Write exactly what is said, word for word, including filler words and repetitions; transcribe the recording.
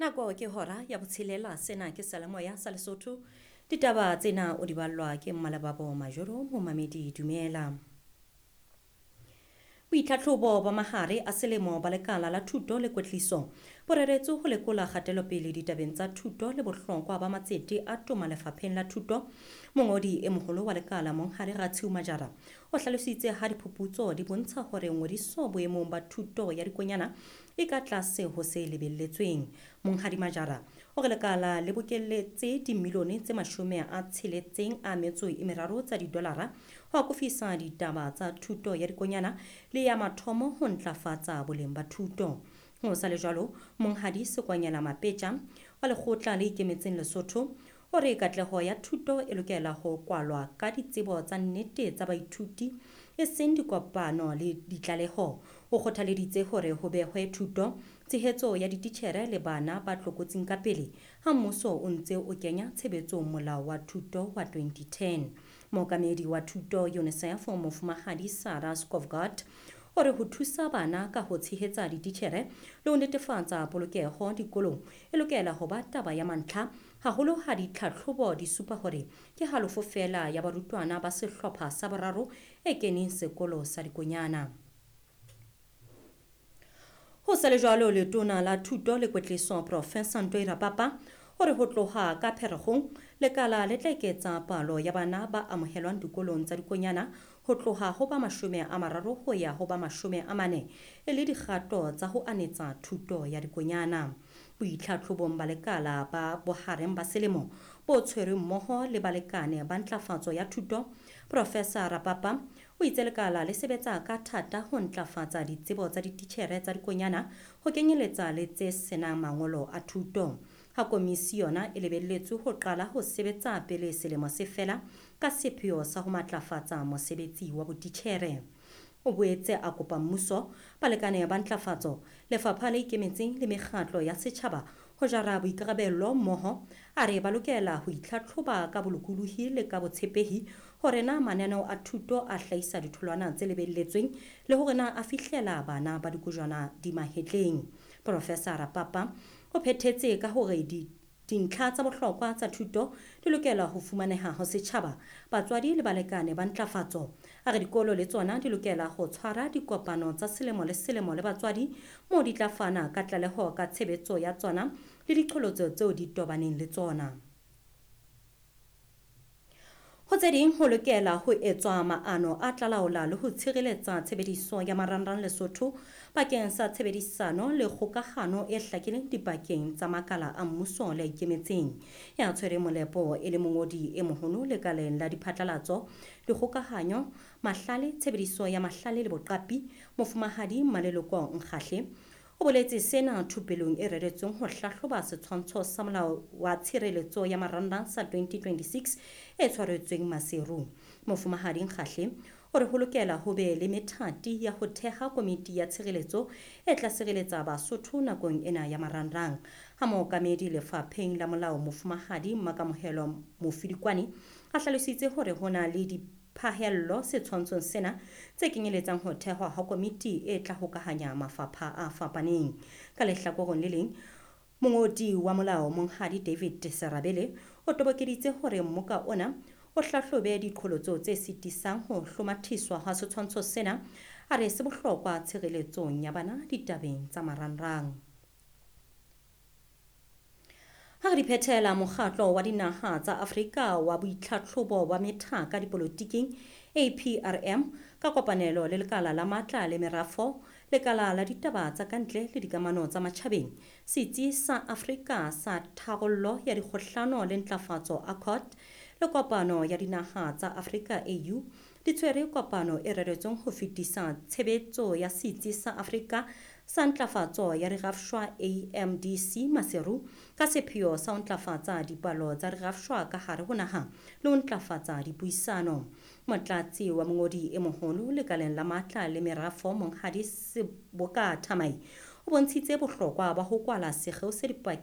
Nako ke hora ya botshelela, sena ke Seyalemoya sa Lesotho. Ditaba tsena o di ballwa ke Mmalebabo Majoro, momamedi dumela. Boitlhatlhobo ba mahare a selemo ba lekala la thuto le kwetliso bo reretswe ho lekola kgatelopele ditabeng tsa thuto le bohlokwa ba matsete a toma lefapheng la thuto. Mongodi e moholo wa lekala Monghadi Ratshiu Majara o hlalositse ha diphuputso di bontsha hore ngodiso boemong ba thuto ya dikonyana e ka tlase ho se lebelletsweng. Monghadi Majara o re lekala le bokelletse dimilione tse mashome a tsheletseng a metso e meraro tsa didolara ho akofisa ditaba tsa thuto ya dikonyana le ya mathomo ho ntlafatsa boleng ba thuto. Ho sa le jwalo, Monghadi Sekwanyela Mapetja wa lekgotla le ikemetseng Lesotho o re katleho ya thuto e lokela ho kwalwa ka ditsebo tsa nnete tsa baithuti e seng dikopano le ditlaleho. O kgothaleditse hore ho behwe thuto, tshehetso ya dititjhere le bana ba tlokotsing ka pele ha mmuso o ntse o kenya tshebetsong molao wa thuto wa twenty ten. Mookamedi wa thuto UNICEF Mofumahadi Sarah Skovgaard o re ho thusa bana ka ho tshehetsa dititjhere le ho netefatsa polokeho dikolong e lokela ho ba taba ya mantlha, haholo ha ditlhatlhobo di supa hore ke halofo feela ya barutwana ba sehlopha sa boraro e keneng sekolo sa dikonyana. Ho sa le jwalo, letona la thuto le kwetliso Professor Ntoi Rapapa o re ho tloha ka Pherekgong lekala le tla eketsa palo ya bana ba amohelwang dikolong tsa dikonyana ho tloha ho ba mashome a mararo ho ya ho ba mashome a mane e le dikgato tsa ho anetsa thuto ya dikonyana. Boitlhatlhobong ba lekala ba bohareng ba selemo bo tshwerweng mmoho le balekane ba ntlafatso ya thuto, Professor Rapapa o itse lekala le sebetsa ka thata ho ntlafatsa ditsebo tsa dititjhere tsa dikonyana ho kenyeletsa le tse senang mangolo a thuto. Ha komisi yona e lebelletswe ho qala ho sebetsa pele selemo se fela ka sepheo sa ho matlafatsa mosebetsi wa botitjhere. O boetse a kopa mmuso, balekane ba ntlafatso, lefapha le ikemetseng le mekgatlo ya setjhaba ho jara boikarabelo mmoho. A re ba lokela ho itlhatlhoba ka bolokolohi le ka botshepehi hore na mananeo a thuto a hlahisa ditholwana tse lebelletsweng le hore na a fihlela bana ba dikojwana di mahetleng. Professor Rapapa o phethetse ka hore di dintlha tsa bohlokwa tsa thuto di lokela ho fumaneha ho setjhaba, batswadi le balekane ba ntlafatso. A re dikolo le tsona di lokela ho tshwara dikopano tsa selemo le selemo le batswadi moo di tla fana ka tlaleho ka tshebetso ya tsona le diqholotso tseo di tobaneng le tsona. Ho tse ding, ho lokela ho etswa maano a tla laola le ho tshireletsa tshebediso ya marangrang Lesotho bakeng sa tshebedisano le kgokahano e hlakileng dipakeng tsa makala a mmuso le a ikemetseng. Ya tshwereng molepo e le mongodi e moholo lekaleng la diphatlalatso, dikgokahanyo, mahlale, tshebediso ya mahlale le boqapi, Mofumahadi Mmaleloko Nkgahle o boletse sena thupelong e reretsweng ho hlahloba setshwantsho sa molao wa tshireletso ya marangrang sa twenty twenty-six e tshwaretsweng Maseru. Mofumahadi Nkgahle o re ho lokela ho be le methati ya ho theha komiti ya tshireletso e tla sireletsa Basotho nakong ena ya marangrang. Ha mookamedi lefapheng la molao Mofumahadi Makamohelo Mofidikwane a hlalositse hore ho na le di phahello setshwantshong sena tse kenyeletsang ho thehwa ha komiti e tla hokahanya mafapha a fapaneng. Ka lehlakoreng le leng, mongodi wa molao Monghadi David Serabele o tobokeditse hore mmoka ona o hlahlobe diqholotso tse sitisang ho hlomathiswa ha setshwantsho sena, a re se bohlokwa tshireletsong ya bana ditabeng tsa marangrang. Ha re di phethela, mokgatlo wa dinaha tsa Afrika wa boitlhatlhobo ba methaka dipolotiking A P R M ka kopanelo le lekala la matla le merafo, lekala la ditaba tsa kantle le dikamano tsa matjhabeng, setsi sa Afrika sa tharollo ya dikgohlano le ntlafatso A C O D le kopano ya dinaha tsa Afrika A U di tshwere kopano e reretsweng ho fetisa tshebetso ya setsi sa Afrika sa ntlafatso ya dirafshwa A M D C Maseru ka sepheo sa ho ntlafatsa dipalo tsa dirafshwa ka hare ho naha le ho ntlafatsa dipuisano. Motlatsi wa mongodi e moholo lekaleng la matla le merafo Monghadi Seboka Thamai o bontshitse bohlokwa ba ho kwala sekgeo se dipakeng